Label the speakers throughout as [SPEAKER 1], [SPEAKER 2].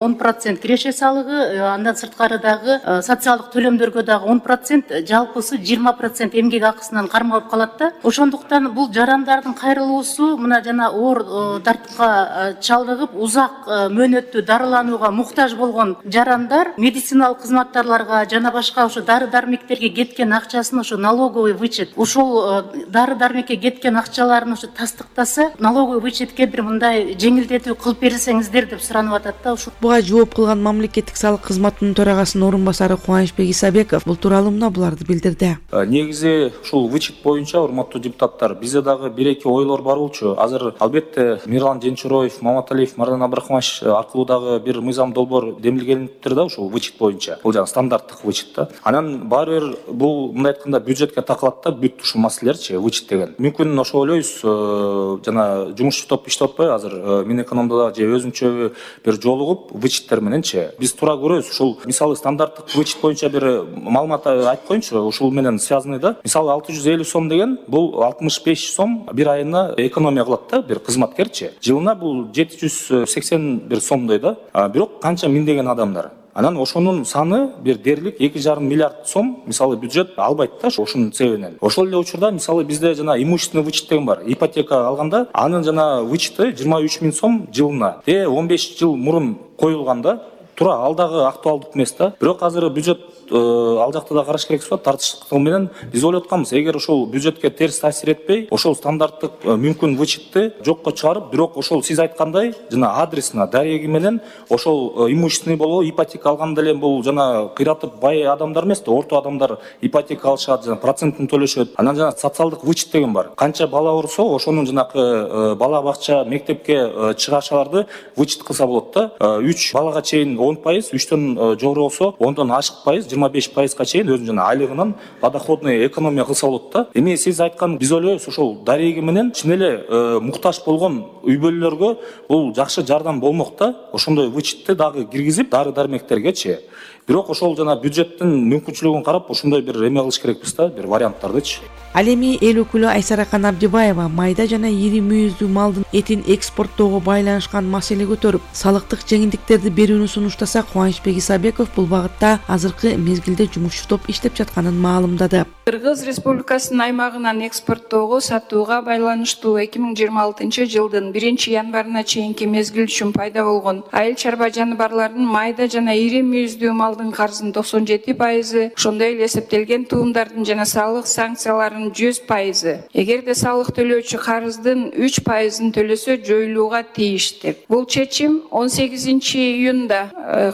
[SPEAKER 1] 10% киреше салыгы, андан сырткары дагы социалдык төлөмдөргө дагы 10%, жалпысы 20% эмгек акысынан кармалып калат да. Ошондуктан бул жарандардын кайрылуусу мына жана оор тартыкка чалдыгып, узак мөөнөттүү дарыланууга муктаж болгон жарандар медициналык кызматтарларга жана башка ошо дары-дармектерге кеткен акчасын ошо налоговый вычет, ушул дары-дармекке кеткен акчаларын ошо тастыктаса, налоговый вычетке бир мындай жеңилдетүү кылып берсеңиздер деп суранып атат да.
[SPEAKER 2] Буга жооп кылган мамлекеттик салык кызматынын төрагасынын орун басары Кубанычбек Исабеков бул тууралуу мына буларды билдирди.
[SPEAKER 3] Негизи ушул вычет боюнча, урматтуу депутаттар, бизде дагы 1-2 ойлор бар болчу. Азыр албетте Мирлан Женчуроев, Маматалиев, Мардан Абдрахманович аркылуу дагы бир мыйзам долбоор демилгениптир да ушул вычет боюнча. Бул жана стандарттык вычет да. Анан баары бир бул мындай айтканда бюджетке такалат да, бүт ушул маселелерчи вычет деген. Мүмкүн ошо ойлойбуз, жана жумушчу топ иштеп атпайбы азыр Минэкономдо же өзүнчө бир жолугуп вычеттер мененчи биз туура көрөбүз. Ушул мисалы стандарттык вычет боюнча бир маалымат айтып коеюнчу, ушул менен связанный да. Мисалы 650 сом деген бул 65 сом бир айына экономия кылат да бир кызматкерчи. Жылына бул 781 сомдой да. Бирок канча миңдеген адамдар. Анан ошонун саны бир дерлик 2,5 миллиард сом мисалы бюджет албайт да ошонун себебинен. Ошол эле учурда мисалы бизде жана имущественный вычет деген бар. Ипотека алганда анын жана вычети 23 000 сом жылына. 15 жыл мурун коюлганда туура ал дагы актуалдык эмес да. Бирок азыр бюджет ал жакта да караш керек болот. Тартыштык менен биз ойлоп атканбыз, эгер ошол бюджетке терс таасир этпей, ошол стандарттык мүмкүн вычетти жокко чыгарып, бирок ошол сиз айткандай жана адресина, дареги менен ошол имущественный болобу, ипотека алганда эле бул жана кыйратып бай адамдар эмес да, орто адамдар ипотека алышат, жана процентин төлөшөт. Анан жана социалдык вычет деген бар. Канча бала урса, ошонун жанакы бала бакча, мектепке чыгашаларды вычет кылса болот да. 3 балага чейин 10%, 3төн жогору болсо 10дон ашык пайыз, 25%га чейин өзүнүн жана айлыгынан подоходный экономия кылса болот да. Эми сиз айткан биз ойлойбуз, ошол дареги менен чын эле муктаж болгон үй бүлөлөргө бул жакшы жардам болмок да. Ошондой вычетти дагы киргизип дары-дармектергечи. Бирок ошол жана бюджеттин мүмкүнчүлүгүн карап ошондой бир эме кылыш керекпиз да, бир варианттардычы.
[SPEAKER 2] Ал эми эл өкүлү Айсаракан Абдибаева майда жана ири мүйүздүү малдын этин экспорттоого байланышкан маселе көтөрүп, салыктык жеңилдиктерди берүүнү сунуштаса, Кубанычбек Исабеков бул багытта азыркы мезгилде жумушчу топ иштеп жатканын маалымдады.
[SPEAKER 4] Кыргыз Республикасынын аймагынан экспорттоого, сатууга байланыштуу 2026 жылдын 1-январына чейинки мезгил үчүн пайда болгон айыл чарба жаныбарларынын майда жана ири мүйүздүү малдын карызынын 97%, ошондой эле эсептелген туумдардын жана салык санкцияларынын 100%. Эгерде салык төлөөчү карыздын 3%-ын төлөсө жоюлууга тийиштир. Бул чечим 18 июнда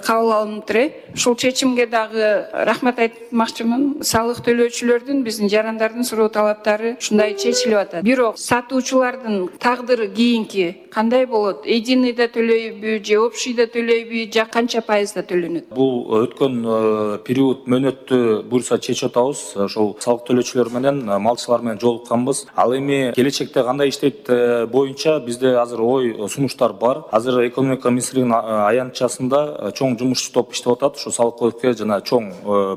[SPEAKER 4] кабыл алыныптыр. Ушул чечимге дагы рахмат айтмакчымын. Салык төлөөчүлөрдүн, биздин жарандардын суроо талаптары ушундай чечилип атат. Бирок сатуучулардын тагдыры кийинки кандай болот? Единыйда төлөйбү, же общийда төлөйбү, же канча пайызда төлөнөт?
[SPEAKER 3] Бул өткөн период мөөнөттү буюрса чечип атабыз. Ошол салык төлөөчүлөр менен, малчылар менен жолукканбыз. Ал эми келечекте кандай иштейт боюнча бизде азыр ой сунуштар бар. Азыр экономика министрлигинин аянтчасында чоң жумушчу топ иштеп атат. Ошо салык кодекске жана чоң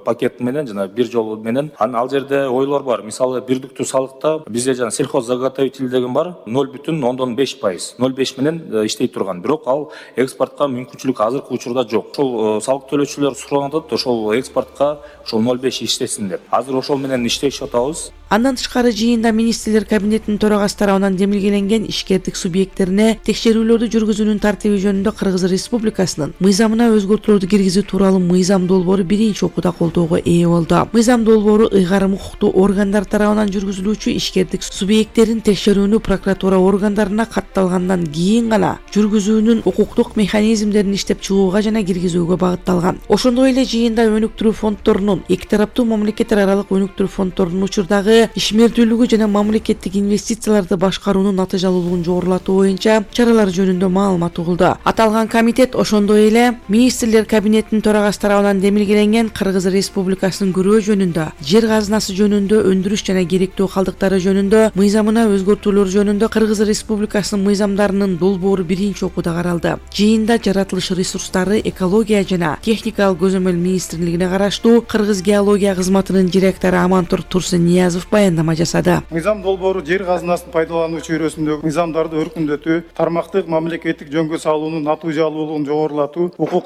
[SPEAKER 3] пакет менен жана бир жолу менен. Ал жерде ойлор бар. Мисалы бирдиктүү салыкта бизде жана сельхоззаготовитель деген бар. 0,5%. 0,5 менен иштей турган. Бирок ал экспортко мүмкүнчүлүк азыркы учурда жок. Ошол салык төлөөчүлөр суранат, ошол экспортко ошол 0,5 иштесин деп. Азыр ошол менен иштешип атабыз.
[SPEAKER 2] Андан тышкары жыйында министрлер кабинетинин төрагасы тарабынан демилгеленген ишкердик субъекттерине текшерүүлөрдү жүргүзүүнүн тартиби жөнүндө Кыргыз Республикасынын мыйзамына өзгөртүүлөрдү киргизүү тууралуу мыйзам долбоору биринчи окууда колдоого ээ болду. Мыйзам долбоору ыйгарым укуктуу органдар тарабынан жүргүзүлүүчү ишкердик субъекттерин текшерүүнү прокуратура органдарына катталгандан кийин гана жүргүзүүнүн укуктук механизмдерин иштеп чыгууга жана киргизүүгө багытталган. Ошондой эле жыйында өнүктүрүү фонддорунун, эки тараптуу мамлекеттер аралык өнүктүрүү фонддорунун учурдагы ишмердүүлүгү жана мамлекеттик инвестицияларды башкаруунун натыйжалуулугун жогорулатуу боюнча чаралар жөнүндө маалымат угулду. Аталган комитет ошондой эле министрлер кабинетинин төрагасы тарабынан демилгеленген Кыргыз Республикасынын көрөө жөнүндө, жер казынасы жөнүндө, өндүрүш жана керектүү калдыктары жөнүндө мыйзамына өзгөртүүлөр жөнүндө Кыргыз Республикасынын мыйзамдарынын долбоору биринчи окууда каралды. Жыйында жаратылыш ресурстары, экология жана техникалык көзөмөл министрлигине караштуу Кыргыз геология кызматынын директору Амантур Турсунниязов баяндама жасады.
[SPEAKER 5] Мыйзам долбоору жер казынасын пайдалануу чөйрөсүндөгү мыйзамдарды өркүндөтүү, тармактык мамлекеттик жөнгө салуунун натыйжалуулугун жогорулатуу, укук